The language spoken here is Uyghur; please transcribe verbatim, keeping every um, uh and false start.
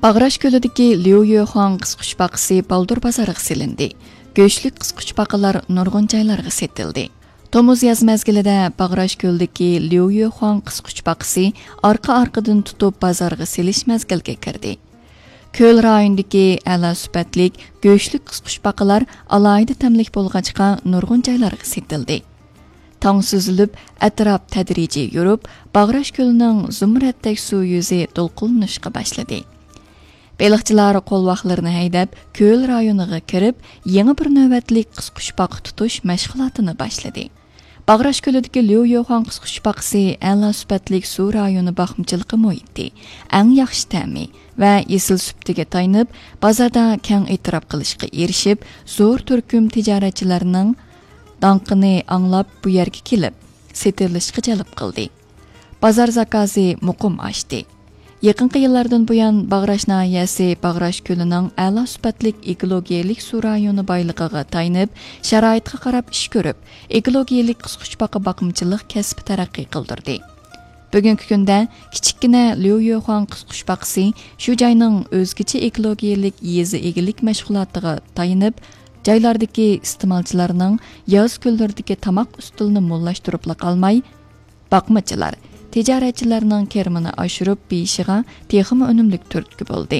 باغراش كۆلىدىكى ليۇ يۆخۇاڭ قىسقۇچپاقىسى بالدۇر بازارغا سېلىندى. گۆشلۈك قىسقۇچپاقىلار نۇرغۇن جايلارغا سېتىلدى. تومۇز ياز مەزگىلىدە باغراش كۆلىدىكى ليۇ يۆخۇاڭ قىسقۇچپاقىسى ئارقا-ئارقىدىن تۇتۇپ بازارغا سېلىش مەزگىلىگە كىردى. كۆل رايونىدىكى ئەلا سۈپەتلىك گۆشلۈك قىسقۇچپاقىلار ئالاھىدە تەملىك بولغاچقا نۇرغۇن جايلارغا سېتىلدى. تاڭ سۈزۈلۈپ، ئەتراپ تەدرىجىي يورۇپ، باغراش كۆلىنىڭ زۇمرەتتەك سۇ يۈزى دولقۇنلىنىشقا باشلىدى. بېلىقچىلار قولۋاقلىرىنى ھەيدەپ، كۆل رايونىغا كىرىپ، يېڭى بىر نۆۋەتلىك قىسقۇچپاقا تۇتۇش مەشغۇلاتىنى باشلىدى. باغراش كۆلىدىكى ليۇ يۆخۇاڭ قىسقۇچپاقىسى ئەلا سۈپەتلىك سۇ رايونى باقمىچىلىقى مۇھىتى، ئەڭ ياخشى تەمى ۋە ئېسىل سۈپىتىگە تايىنىپ، بازاردا كەڭ ئېتىراپ قىلىشقا ئېرىشىپ، زور تۈركۈم تىجارەتچىلەرنىڭ داڭقىنى ئاڭلاپ، بۇ يەرگە كېلىپ، سېتىلىشقا جەلپ قىلدى. بازار زاكازى مۇقىم ئاشتى. يېقىنقى يىللاردىن بۇيان، باغراش ناھىيەسى باغراش كۆلىنىڭ ئەلا سۈپەتلىك ئېكولوگىيەلىك سۇ رايونى بايلىقىغا تايىنىپ، شارائىتقا قاراپ ئىش كۆرۈپ، ئېكولوگىيەلىك قىسقۇچپاقا باقمىچىلىق كەسپى تەرەققىي قىلدۇردى. بۈگۈنكى كۈندە كىچىككىنە ليۇ يۆخۇاڭ قىسقۇچپاقىسى شۇ جاينىڭ ئۆزگىچە ئېكولوگىيەلىك يېزا ئىگىلىك مەشغۇلاتىغا تايىنىپ، جايلاردىكى ئىستېمالچىلارنىڭ ياز كۈنلىرىدىكى تاماق ئۈستىلىنى موللاشتۇرۇپلا قالماي، باقمىچىلار، تىجارەتچىلەرنىڭ كىرىمىنى ئاشۇرۇپ بېيىشىغا تېخىمۇ ئۈنۈملۈك تۈرتكە بولدى.